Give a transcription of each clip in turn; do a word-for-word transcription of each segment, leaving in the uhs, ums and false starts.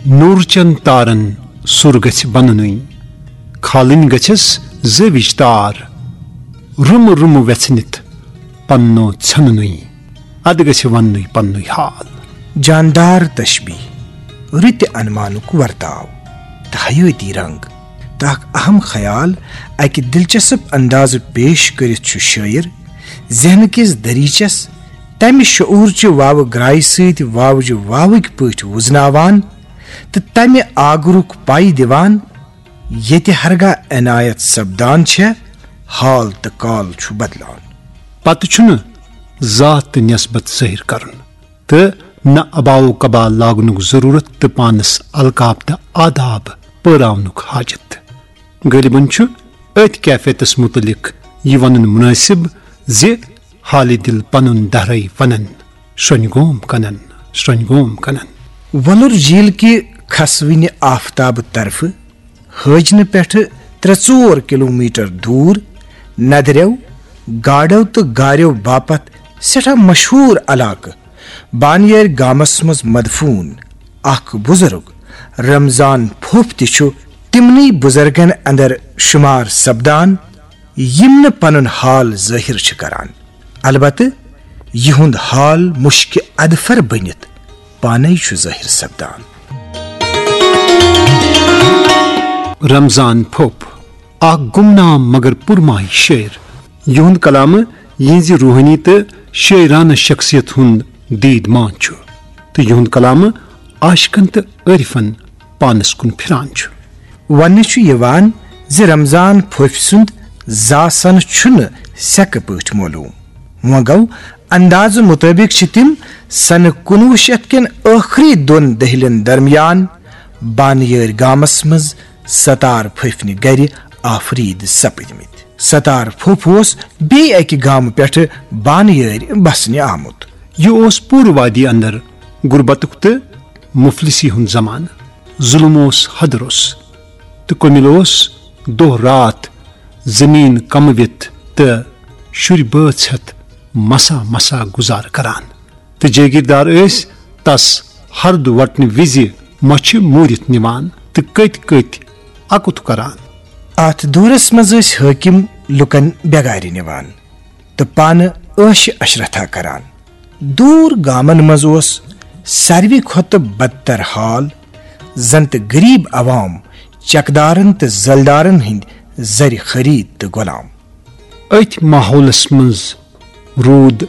نورچن تارن سُر گژھِ بننُے، کھالٕنۍ گژھٮ۪س زٲوِج تار۔ رُمہٕ رُمہٕ وٮ۪ژھنِتھ پننو ژھٮ۪ننُے، ادٕ گژھِ وننُے پننُے حال۔ جاندار تشبیہ، رٕتہِ انمانُک ورتاو تہٕ حیٲتی رنگ تہٕ اکھ اہم خیال اکہِ دلچسپ اندازٕ پیش کٔرِتھ چھُ شٲعر ذہنہٕ کِس دٔریٖچس تمہِ شعوٗرچہِ واوٕ گرایہِ سۭتۍ واوجہِ واوٕکۍ پٲٹھۍ وُزناوان تہٕ تمہِ آگرُک پَے دِوان، ییٚتہِ ہرگاہ عنایت سپدان چھےٚ، حال تہٕ کال چھُ بدلان۔ پتہٕ چھُنہٕ ذات تہٕ نسبت ظٲہِر کرُن تہٕ نہ اباو قبا لاگنُک ضروٗرت تہٕ پانس القاب تہٕ آداب پٲراونُک حاجت۔ غٲلبن چھُ أتھۍ کیفیتس مُتعلق یہِ ونُن مُنٲسِب زِ حالہِ دِل پنُن دہرے ونن، شرۄنۍ گوم کنن، شرۄنۍ گوم کنن۔ وۄلُر جھیل کہِ کھسوٕنہِ آفتابہٕ طرفہٕ حٲجنہٕ پٮ۪ٹھٕ ترٛےٚ ژور کلومیٹر دوٗر ندرٮ۪و، گاڈو تہٕ گارٮ۪و باپتھ سٮ۪ٹھاہ مشہوٗر علاقہٕ بانیٲرۍ گامس منٛز مدفوٗن اکھ بُزرگ رمضان پھوٚپ تہِ چھُ تِمنٕے بُزرگن اندر شُمار سپدان، یِم نہٕ پنُن حال ظٲہِر چھِ کران۔ البتہٕ یِہُنٛد حال مُشکہِ ادفر بٔنِتھ پانے چھُ ظٲہِر سپدان۔ رمضان پھوٚپ، اکھ گمنام مگر پُرمایہِ شٲعر، یِہُنٛد کلامہٕ یِہٕنٛزِ روحٲنی تہٕ شٲعرانہٕ شخصیت ہُنٛد دیٖد مان چھُ، تہٕ یِہُنٛد کلامہٕ عاشقن تہٕ عٲرفن پانس کُن پھِران چھُ۔ وننہٕ چھُ یِوان زِ رمضان پھوٚپۍ سُنٛد زاسن چھُنہٕ سیٚکہٕ پٲٹھۍ معلوم۔ وۄنۍ گوٚو، اندازٕ مُطٲبِق چھِ تِم سنہٕ کُنوُہ شیٚتھ کٮ۪ن ٲخری دۄن دٔہلٮ۪ن درمیان بانیٲرۍ گامس منٛز ستار پھٔپھنہِ گرِ آفریٖد سپٕدمٕتۍ۔ ستار پھوٚپھ اوس بیٚیہِ اکہِ گامہٕ پٮ۪ٹھٕ بانیٲرۍ بسنہِ آمُت۔ یہِ اوس پوٗرٕ وادی اندر غربتُک تہٕ مفلسی ہُنٛد زمانہٕ۔ ظُلم اوس حدرُس تہٕ کُمِل اوس دۄہ راتھ زٔمیٖن کموِتھ تہٕ شُرۍ بٲژ ہٮ۪تھ مسا مسا گُزارٕ کران۔ تہٕ جٲگیٖردار ٲسۍ تس ہرُد وٹنہٕ وِزِ مۄچھِ موٗرِتھ نِوان تہٕ کٔتۍ کٔتۍ اکُتھ کران۔ اتھ دورس منٛز ٲسۍ حٲکِم لوٗکن بیگارِ نِوان تہٕ پانہٕ عٲشہِ عشرتھا کران۔ دوٗر گامن منٛز اوس ساروی کھۄتہٕ بدتر حال، زن تہٕ غریب عوام چکدارن تہٕ زلدارن ہٕنٛدۍ زرِ خرید تہٕ غلام۔ أتھۍ ماحولس منٛز روٗد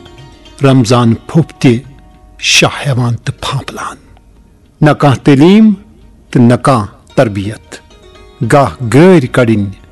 رمضان پھوٚپ تہِ شاہ ہٮ۪وان تہٕ پھانپلان۔ نہ کانٛہہ تعلیٖم تہٕ نہ کانٛہہ تربیت۔ گاہ گٲرۍ کڑٕنۍ